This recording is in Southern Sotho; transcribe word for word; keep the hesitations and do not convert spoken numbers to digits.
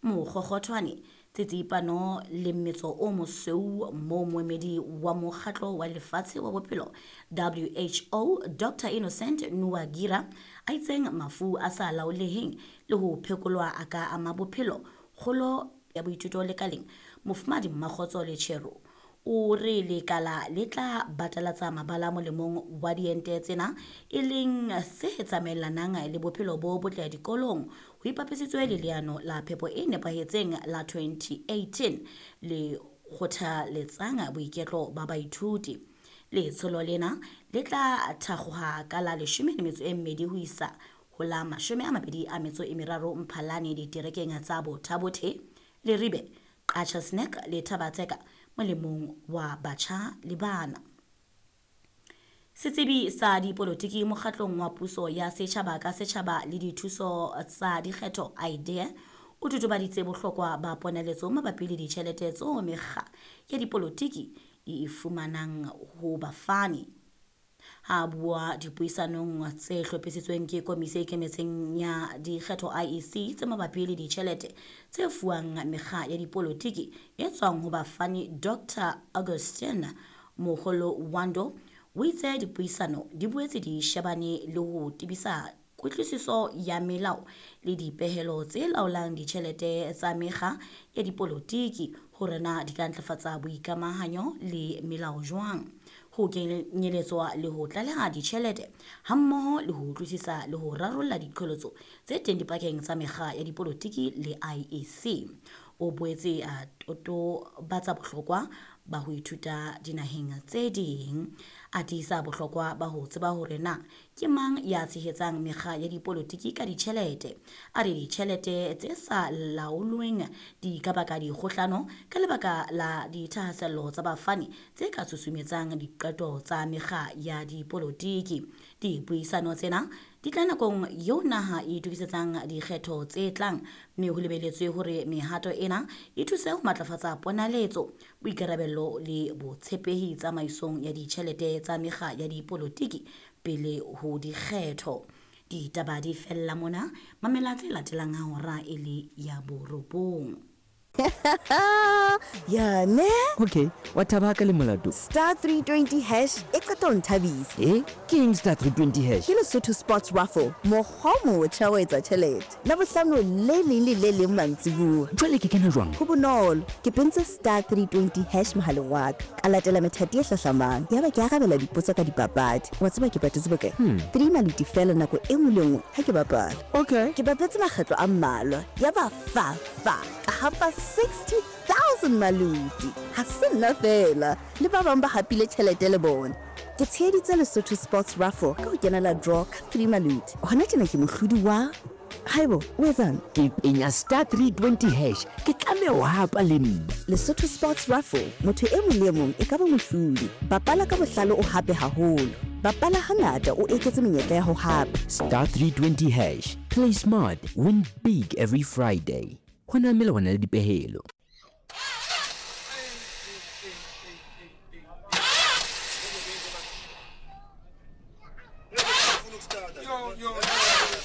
Mokgokgothwane, tsitsipano le mmetso o mosweu moo moemedi wa Mokgatlo wa Lefatshe wa Bophelo W H O Doctor Innocent Nuwagira a itseng mafu a sa laoleheng le ho phekolwa a ka ama bophelo, kgolo ya boithuto lekaleng. Mofumahadi Mmakgotso Lechero o re lekala le tla batalatsa mabala molemong wa diente tsena, e leng se tsamaelanang le bophelo bo botle dikolong ho ipapisitswe le leano la phepo e nepahetseng la twenty eighteen le kgothaletsang boiketlo ba baithuti. Letsholo lena le tla thakgoha ka la leshome le metso e mmedi ho isa ho la mashome a mabedi a metso e meraro Mphalane diterekeng tsa Botha-Bothe, Leribe, Qacha's Nek le Thaba-Tseka molemong wa batjha le bana. Setsebi sa dipolotiki mokgatlong wa puso ya setjhaba ka setjhaba le dithuso tsa dikgetho IDEA o totobaditse bohlokwa ba ponaletso mabapi le ditjhelete tseo mekga ya dipolotiki di e fumanang ho bafani. Ha a bua dipuisanong tse hlophisitsweng ke Komisi e Ikemetseng ya Dikgetho I E C tse mabapi le ditjhelete tse fuwang mekga ya dipolotiki e tswang ho bafani, Doctor Augustine Mukholowondo o itse dipuisano di boetse di shebane le ho tebisa kutlwisiso ya melao le dipehelo tse laolang ditjhelete tsa mekga ya dipolotiki, hore na di ka ntlafatsa boikamahanyo le melao jwang, ho kenyeletswa le ho tlaleha ditjhelete, hammoho le ho utlwisisa le ho rarolla diqholotso tse teng dipakeng tsa mekga ya dipolotiki le I E C. O boetse a totobatsa bohlokwa ba ho ithuta dinaheng tse ding, a tiisa bohlokwa ba ho tseba hore na ke mang ya tshehetsang mekga ya dipolotiki ka ditjhelete. A re ditjhelete tse sa laolweng di ka baka dikgohlano ka lebaka la dithahasello tsa bafani tse ka susumetsang diqeto tsa mekga ya dipolotiki. Dipuisano tsena di tla nakong eo naha e itokisetsang dikgetho tse tlang, mme ho lebeletswe hore mehato ena e thuse ho matlafatsa ponaletso, boikarabello le botshepehi tsamaisong ya ditjhelete tsa mekga ya dipolotiki pele ho dikgetho. Ditaba di fella mona. Mamela tse latelang ha hora e le ya borobong. Ya ne. Okay, wa thaba ka le molato. Star three twenty hash e qeta ho nthabisa. E ke eng star three twenty hash? Ke Lesotho Sports Raffle, mokgwa o motjha wa etsa tjhelete Labohlano le leng le le leng mantsibuya. Jwale ke kena jwang? Ho bonolo, ke pentse star three twenty hash mohaleng wa ka, ka latela methati e hlahlamang, yaba ke arabela dipotso ka dipapadi. Wa tseba ke patetse bokae? Three maluti fela nako e nngwe le nngwe ha ke bapala. Okay. Ke bapetse makgetlo a mmalwa, yaba fa fa ka hapa sixty thousand maluti. Ha se nna fela, le ba bang ba hapile tjhelete le bona. Ke tsheheditse Lesotho Sports Raffle ka ho kenela draw ka three maluti. Hona tjena ke mohlodi wa haibo, o etsang? Ke penya star three twenty hash, ke tlameha ho hapa le nna. Lesotho Sports Raffle, motho e mong le e mong e ka ba mohlodi. Bapala ka bohlale, o hape haholo. Bapala hangata, o eketse menyetla ya ho hapa. Star three twenty hash, play smart, win big every Friday. Ho na melawana le dipehelo.